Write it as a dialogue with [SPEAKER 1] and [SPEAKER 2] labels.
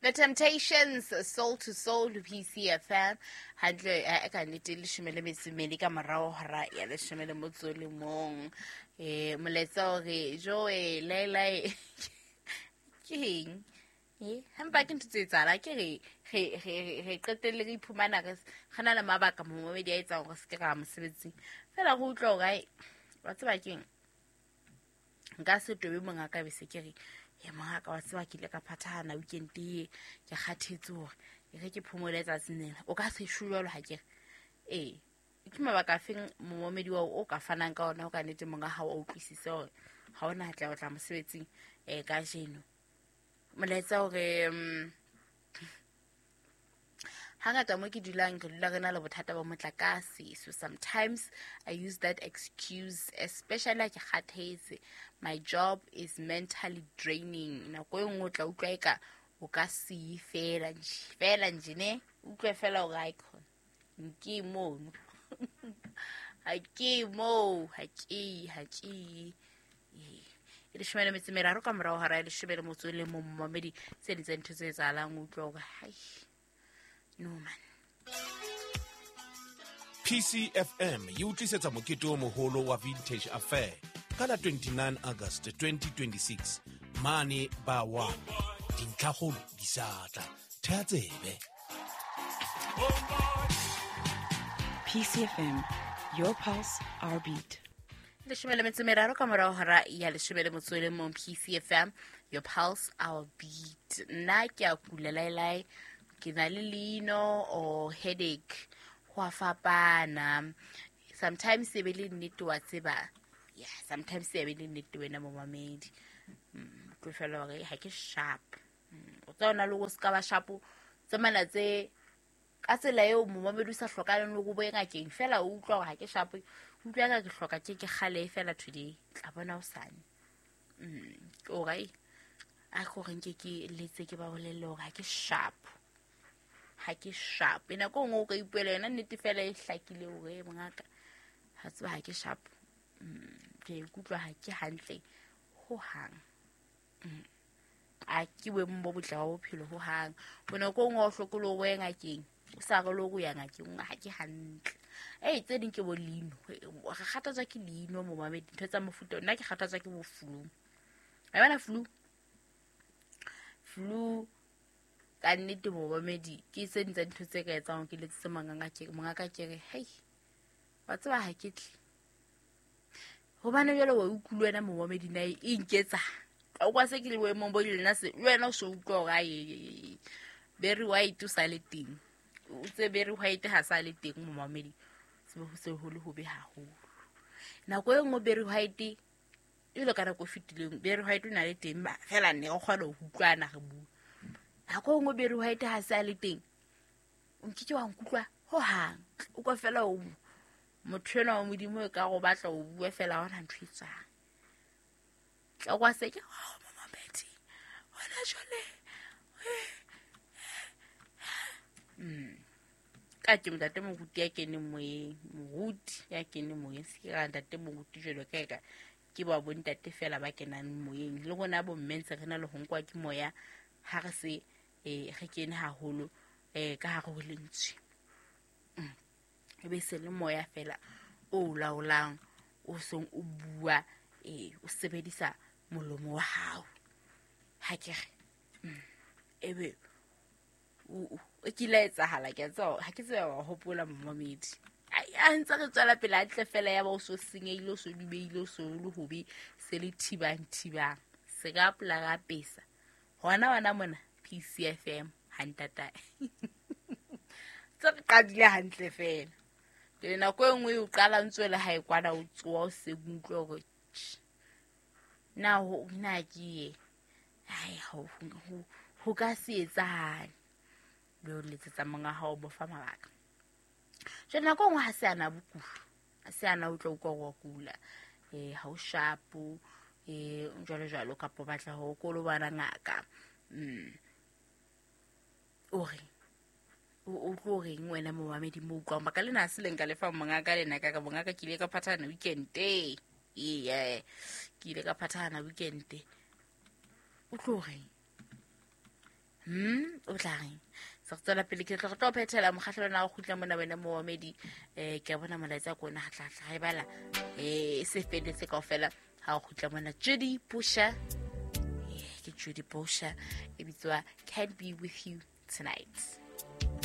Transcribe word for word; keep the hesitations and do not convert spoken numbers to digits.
[SPEAKER 1] The Temptations, Soul to Soul, P C F M. Hantle e ka nnete leshome le metso e mmedi ka morao hora ya leshome le motso le mong. Eh molaetsa o re joe laelae ke eng? Eh hampa ke ntho tse etsahala ke re re re re qetelle re iphumana re re na le mabaka momamedi a etsang hore se ke ra mosebetsing. Fela re utlwa hore ai wa tseba keng? Nka se tobe mongaka be se ke re ye mongaka wa tseba ke ile ka phathahana weekend e ke kgathetse hore e re ke phomole tsatsing lena. O ka se shwe jwalo ha ke re. Eh ke mabaka a feng momamedi wa o ka fanang ka ona ho ka nnete monga ha o utlwisise hore ha ona tla o tla mosebetsing eh kajeno. Molaetsa hore hangata mo ke dulang re dula re na le bothata ba motlakase, so sometimes I use that excuse, especially ha ke kgathetse. My job is mentally draining. Nako e nngwe o tla utlwa eka o ka se fela nje fela nje ne utlwe fela hore ai khona nke mono ha ke mo ha ke ha ke e leshome le metso e meraro ka morao hora ya leshome le motso le mong momamedi. Tse ding tsa ntho tse etsahalang o utlwa hore hai no man.
[SPEAKER 2] P C F M e utlisetsa mokete o moholo wa Vintage Affair ka la twenty-nine August twenty twenty-six mane ba wa dintlhakgolo di sa tla. Thea tsebe.
[SPEAKER 3] P C F M, your pulse, our beat.
[SPEAKER 1] Leshome le metso e meraro ka morao hora ya leshome le motso le mong. P C F M, your pulse, our beat. Nna ke a kula laelae, ke na le leino or headache ho a fapana. Sometimes e be le nnete wa tseba. Yeah, sometimes e be le nnete wena momamedi. Mm, ke fela hore ha ke sharp. Mm, o tla ona le go ska ba sharp tsamana tse ka tsela eo momamedi o sa hlokaleng le go bo ngakeng fela o utlwa hore ha ke sharp. Utlwa ka ke hloka ke ke kgale fela today tla bona o sane. Mm, okay. A go re nke ke letse ke ba bolelle hore ha ke sharp. Ha ke sharp. E nako nngwe o ka ipuela yona nnete fela e hlakile hore mongaka ha tseba ha ke sharp. Mm, ke ikutlwa ha ke hantle ho hang. Mm. A ke boemong bo botle ba bophelo ho hang. Bo nako nngwe o hlokolo o ye ngakeng. O sa re le ho ya ngakeng ha ke hantle. Eh tse ding ke bo leino. Re kgathatswa ke leino momamedi ntho tsa mofuta. Nna ke kgathatswa ke bo flu. A bona flu? Flu ka nnete momamedi ke tse ding tsa dintho tse ka etsang ke letsetse mongaka ke mongaka ke re hei wa tseba ha ke tle. Hobane jwale wa utlwa wena momamedi na e nketsa. O kwa se ke le boemong bo lena se wena o so utlwa hore ai Barry White o sa le teng. O tse Barry White ha sa le teng momamedi. Se ho se ho le hobe haholo. Nako e nngwe Barry White e le ka nako e fetileng Barry White o na le teng ba fela ne re kgona ho utlwana re bua. Nako e nngwe Barry White ha sa le teng o nkeke wa nkutlwa ho hang. O kwa fela o motho enwa wa Modimo e ka go batla o bua fela ha hona ntho e tswang. Tla kwa se ke oh momamedi hona jwale. Mm. Ka ke ntate moruti ya keneng moyeng, moruti ya keneng moyeng, se ke ra ntate moruti jwalo ka eka ke ba bo ntate fela ba kenang moyeng. Le rona bo mme ntse re na le ho nkwa ke moya ha re se eh re kene haholo eh ka hare ho lentswe. Mm. E be se le moya fela o laolang o seng o bua eh o sebedisa molomo wa hao. Ha ke re mm. Ebe o o ke la etsahala ke tswa ha ke tseba wa hopola momamedi. Ai a ntse re tswela pele hantle fela ya ba o so senyehile o so dubeile o so le hobe se le thibang thibang se ka pola ga pesa hona wana mona P C F M ha ntata. Tse re qadile hantle fela. Ke nako e nngwe o qala ntse le ha e kwana o tsoa o se utlwe hore na ho na ke ye ai ho ho ka se etsahale. Be o letsetsa monga hao bo fa mabaka. Jwale nako nngwe ha se ana bokulu, ha se ana o tla utlwa hore wa kula, eh ha o sharp, eh jwalo jwalo kapa batla ho kolobana ngaka. Mm. O re o tlo reng wena momamedi mo utlwang baka lena ha se le nka lefa mongaka lena ka ka mongaka ke ile ka phathana weekend e eh ke ile ka phathana weekend. O tlo reng? Hmm, o tla reng? Se re tswela pele, ke tla re tlo phethela mokgahlelo na o kgutla mona wena moomedi. Eh, ke a bona molaetsa ko ona ha tla tla e bala. Eh, e se felletse kaofela ha o kgutla mona. Judy Busha. Eh, ke Judy Busha e bitswa Can't Be With You Tonight.